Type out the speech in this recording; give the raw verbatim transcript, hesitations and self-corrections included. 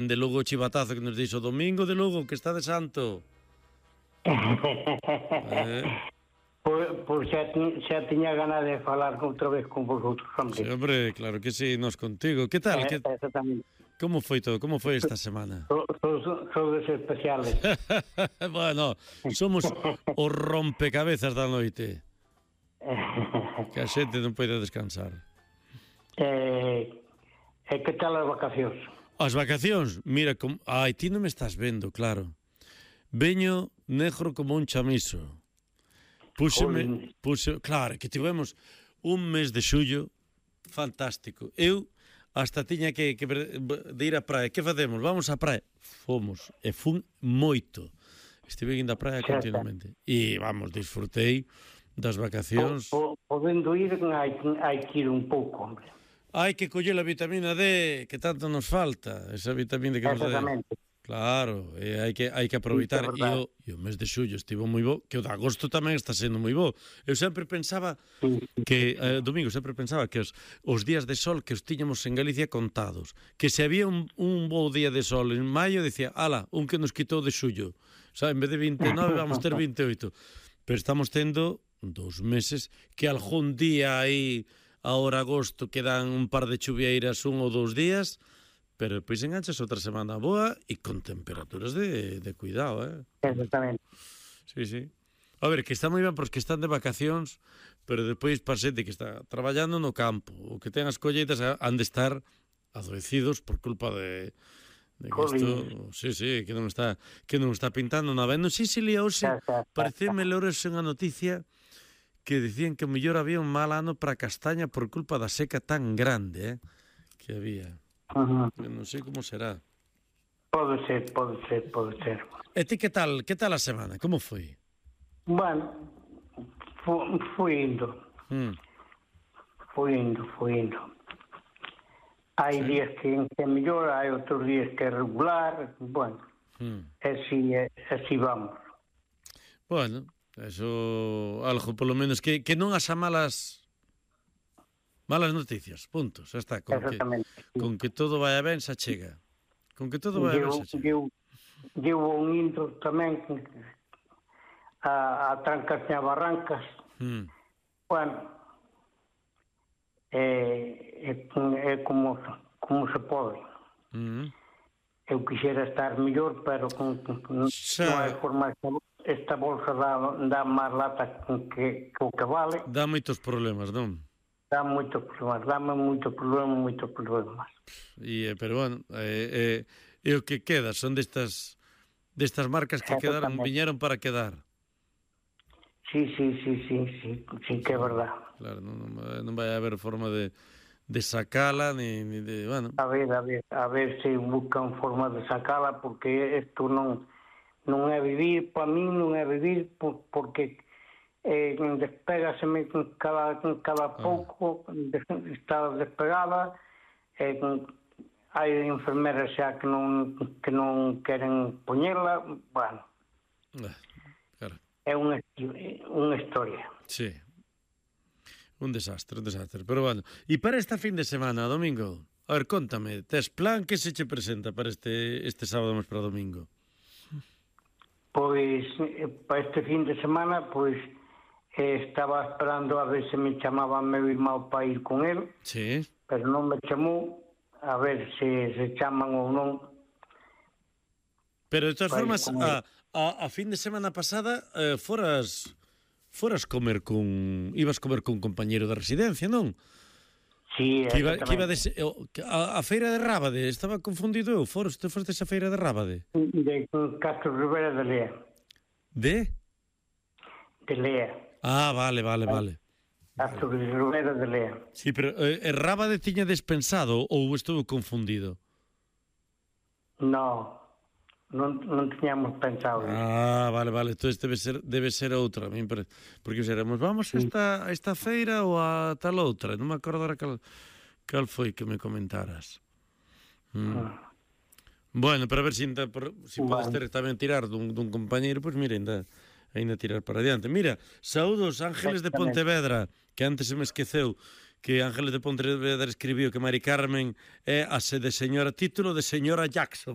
De Lugo o chivatazo que nos dixo o domingo de Lugo, que está de santo. eh... Pois, pois xa, xa tiña ganas de falar outra vez con vosotros, hombre. Sí, hombre, claro que sí, nos contigo. Que tal? Eh, Que... Exactamente. Como foi todo? Como foi esta semana? Sodes especiales. Bueno, somos os rompecabezas da noite. Que a xente non pode descansar. Eh, e que tal as vacacións? As vacacións? Mira, com... ai, ti non me estás vendo, claro. Veño negro como un chamiso. Púxeme, púxeme, claro, que tivemos un mes de xullo fantástico. Eu hasta tiña que, que de ir á praia. Que facemos? Vamos á praia. Fomos, e fun moito. Estive indo á praia continuamente. E, vamos, disfrutei das vacacións. Po, po, podendo ir, hai, hai que ir un pouco, hombre. Hai que coller a vitamina D, que tanto nos falta. Esa vitamina que nos dá. Exactamente. Claro, e hai que hai que aproveitar. Sí, e, o, e o mes de xullo estivo moi bo, que o de agosto tamén está sendo moi bo. Eu sempre pensaba que, eh, domingo, sempre pensaba que os, os días de sol que os tiñamos en Galicia contados, que se había un, un bo día de sol en maio, decía, ala, un que nos quitou de xullo. O sea, en vez de vinte e nove vamos ter vinte e oito. Pero estamos tendo dos meses que algún día aí, ahora agosto, quedan un par de chuvieiras un ou dous días, pero depois enganchas outra semana boa e con temperaturas de, de cuidado, eh? Exactamente. Sí, sí. A ver, que está moi ben pros que están de vacacións, pero depois para xente que está traballando no campo, ou que ten as colleitas, han de estar adoecidos por culpa de, de que isto, sí, sí, que non está que non está pintando nada. Non sei se lía hoxe, pareceme ler hoxe unha noticia que dicían que mellor había un mal ano para a castaña por culpa da seca tan grande, eh, que había. Uh-huh. Non sei como será. Pode ser, pode ser, pode ser. E ti que tal, que tal a semana? Como foi? Bueno, fu, fui indo. Mm. Fui indo, fui indo. Hai sí. días que é mellor, hai outros días que é regular, bueno, mm. así, así vamos. Bueno, eso, algo polo menos, que, que non as malas... Malas noticias, punto, xa está. Con que, con que todo vaya ben, xa chega. Con que todo vaya ben, xa chega. Eu, eu un intro tamén a, a trancas e a barrancas. Mm. Bueno, é, é, é como, como se pode. Mm. Eu quixera estar mellor, pero con, con, xa... non hai forma. Esta bolsa dá, dá máis lata que, que o que vale. Dá moitos problemas, non? Dá moitos problemas, dáme moito problema, moitos problemas. E, pero, bueno, é, é, é o que queda, son destas destas marcas que quedaron, viñeron para quedar. Sí, sí, sí, sí, sí, sí que é verdad. Claro, non, non vai haber forma de, de sacala, ni, ni de, bueno... A ver, a ver, a ver se buscan forma de sacala, porque isto non, non é vivir, para mí non é vivir, por, porque... Eh, despegaseme cada, cada pouco, ah. está despegada, eh, hai enfermeras xa que non, que non queren poñela, bueno, ah, claro. É unha, unha historia. Sí, un desastre, un desastre, pero bueno. E para esta fin de semana, domingo, a ver, contame, tes plan que se che presenta para este, este sábado máis para domingo? Pois, para este fin de semana, pois, estaba esperando a ver se me chamaba meu irmão para ir con él, sí. Pero non me chamou, a ver se se chaman ou non. Pero de todas formas, a, a, a fin de semana pasada eh, foras foras comer con... ibas comer con un compañeiro de residencia, non? Sí, que iba, que iba de, a, a feira de Rábade, estaba confundido eu, foros, te foste a feira de Rábade? De Castro Rivera de Lea. De? De Lea. Ah, vale, vale, vale. Castro Rivera de Lea. Sí, pero eh, Rábade tiña despensado ou estuvo confundido? No, non, non tiñamos pensado. Ah, vale, vale, entón debe ser, debe ser outra, porque seremos, vamos a esta, a esta feira ou a tal outra, non me acordo ahora cal, cal foi que me comentaras. Mm. Ah. Bueno, pero a ver se si, si podes ter tamén tirar dun, dun compañeiro, pois pues mira, ainda... ainda tirar para adiante. Mira, saúdos Ángeles de Pontevedra, que antes se me esqueceu que Ángeles de Pontevedra escribiu que Mari Carmen é a se de señora, título de señora Jackson.